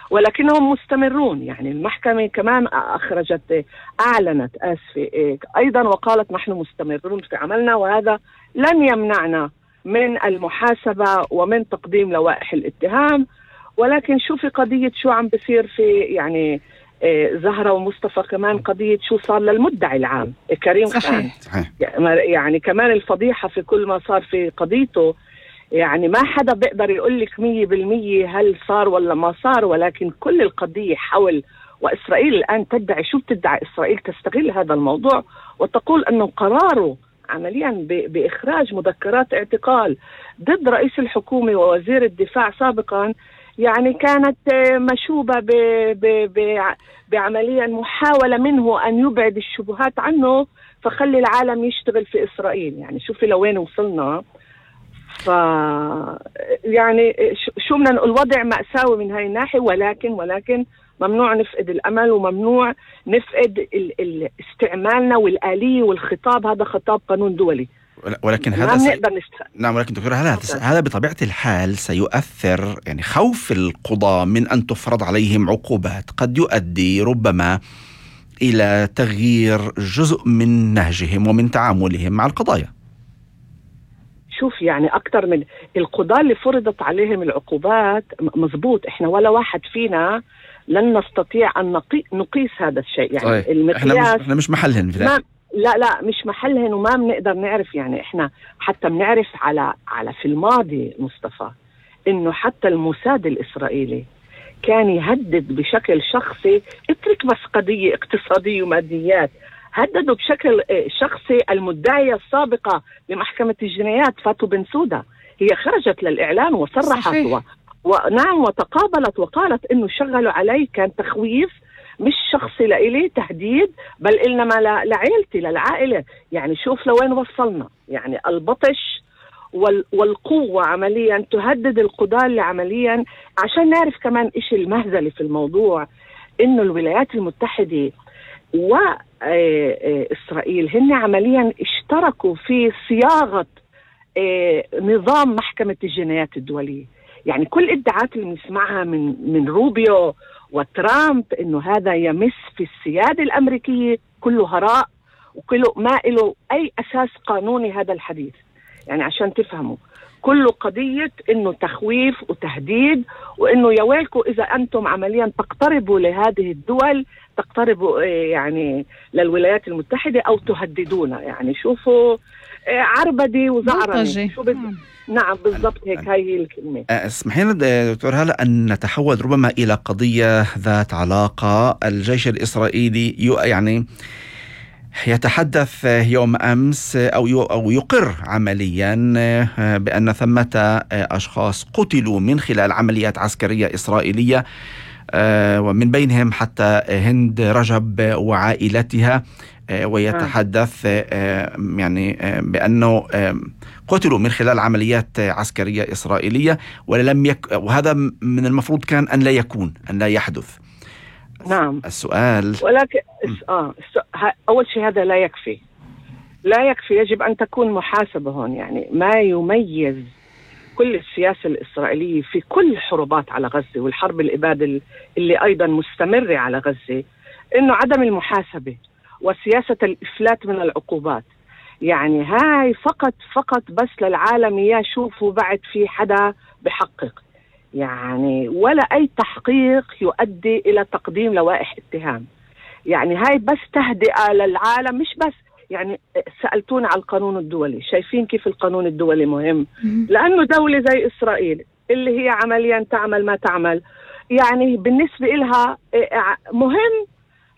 ولكنهم مستمرون. يعني المحكمة كمان أعلنت أيضا وقالت نحن مستمرون في عملنا، وهذا لن يمنعنا من المحاسبة ومن تقديم لوائح الاتهام. ولكن شوفي قضية شو عم بصير في يعني زهرة ومصطفى، كمان قضية شو صار للمدعي العام كريم خان. يعني كمان الفضيحة في كل ما صار في قضيته. يعني ما حدا بيقدر يقول لك 100% هل صار ولا ما صار، ولكن كل القضية حول، وإسرائيل الآن تدعي، شو بتدعي إسرائيل؟ تستغل هذا الموضوع وتقول أنه قراره عمليا بإخراج مذكرات اعتقال ضد رئيس الحكومة ووزير الدفاع سابقا يعني كانت مشوبة بعمليا محاولة منه أن يبعد الشبهات عنه فخلي العالم يشتغل في إسرائيل. يعني شوفي لوين وصلنا. يعني شو بدنا نقول، الوضع مأساوي من هاي الناحية، ولكن ممنوع نفقد الأمل، وممنوع نفقد استعمالنا والآلية والخطاب. هذا خطاب قانون دولي، ولكن هذا نعم. ولكن دكتور، هذا بطبيعة الحال سيؤثر، يعني خوف القضاة من أن تفرض عليهم عقوبات قد يؤدي ربما إلى تغيير جزء من نهجهم ومن تعاملهم مع القضايا. شوف يعني أكتر من القضاة اللي فرضت عليهم العقوبات، مزبوط، إحنا ولا واحد فينا لن نستطيع أن نقيس هذا الشيء. يعني طيب. إحنا مش محلهن في ذلك. لا مش محلهن، وما بنقدر نعرف. يعني إحنا حتى بنعرف على في الماضي مصطفى إنه حتى الموساد الإسرائيلي كان يهدد بشكل شخصي، اترك بس قضية اقتصادية وماديات، هددوا بشكل شخصي المدعية السابقة لمحكمة الجنايات فاتو بنسودا. هي خرجت للإعلان وصرحت ونعم وتقابلت وقالت إنه شغلوا علي، كان تخويف مش شخصي لإلي، تهديد، بل إنما لعائلتي للعائلة. يعني شوف لوين وصلنا. يعني البطش والقوة عمليا تهدد القضاة اللي عمليا. عشان نعرف كمان إيش المهزلة في الموضوع، إنه الولايات المتحدة وإسرائيل هن عمليا اشتركوا في صياغة نظام محكمة الجنايات الدولية. يعني كل ادعاءات اللي بنسمعها من روبيو وترامب إنه هذا يمس في السيادة الأمريكية كله هراء، وكله ما له أي أساس قانوني هذا الحديث. يعني عشان تفهموا كله قضية إنه تخويف وتهديد، وإنه يا ويلكم إذا أنتم عمليا تقتربوا لهذه الدول، تقتربوا يعني للولايات المتحدة أو تهددونا. يعني شوفوا عربدي وزعرني شو نعم بالضبط هيك، هاي الكلمة. اسمحي لنا دكتور هلا أن نتحول ربما إلى قضية ذات علاقة. الجيش الإسرائيلي يعني يتحدث يوم أمس أو يقر عمليا بأن ثمة أشخاص قتلوا من خلال عمليات عسكرية إسرائيلية، ومن بينهم حتى هند رجب وعائلتها. ويتحدث يعني بأنه قتلوا من خلال عمليات عسكرية إسرائيلية، وهذا من المفروض كان أن لا يحدث. نعم. السؤال ولكن أول شيء هذا لا يكفي، يجب أن تكون محاسبة هون. يعني ما يميز كل السياسة الإسرائيلية في كل الحروبات على غزة والحرب الإبادة اللي أيضا مستمرة على غزة، إنه عدم المحاسبة وسياسة الإفلات من العقوبات. يعني هاي فقط بس للعالم يشوفوا بعد في حدا بحقق، يعني ولا أي تحقيق يؤدي إلى تقديم لوائح اتهام. يعني هاي بس تهدئة للعالم، مش بس. يعني سألتونا على القانون الدولي، شايفين كيف القانون الدولي مهم؟ لأنه دولة زي إسرائيل اللي هي عمليا تعمل ما تعمل، يعني بالنسبة إلها مهم،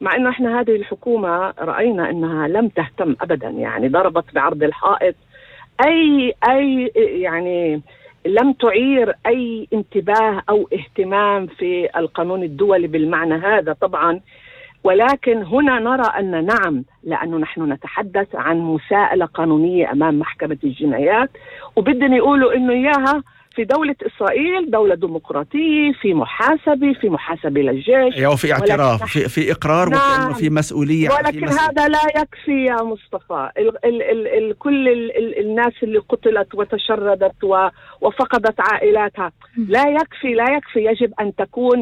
مع أنه إحنا هذه الحكومة رأينا أنها لم تهتم أبدا. يعني ضربت بعرض الحائط أي يعني لم تعير أي انتباه أو اهتمام في القانون الدولي بالمعنى هذا طبعا. ولكن هنا نرى أن نعم، لأنه نحن نتحدث عن مساءلة قانونية أمام محكمة الجنايات، وبدنا يقولوا إنه إياها في دولة إسرائيل دولة ديمقراطية، في محاسبة للجيش، وفي اعتراف، في إقرار، نعم، وكأنه في مسؤولية. ولكن هذا لا يكفي يا مصطفى. كل الناس اللي قتلت وتشردت وفقدت عائلاتها لا يكفي. يجب أن تكون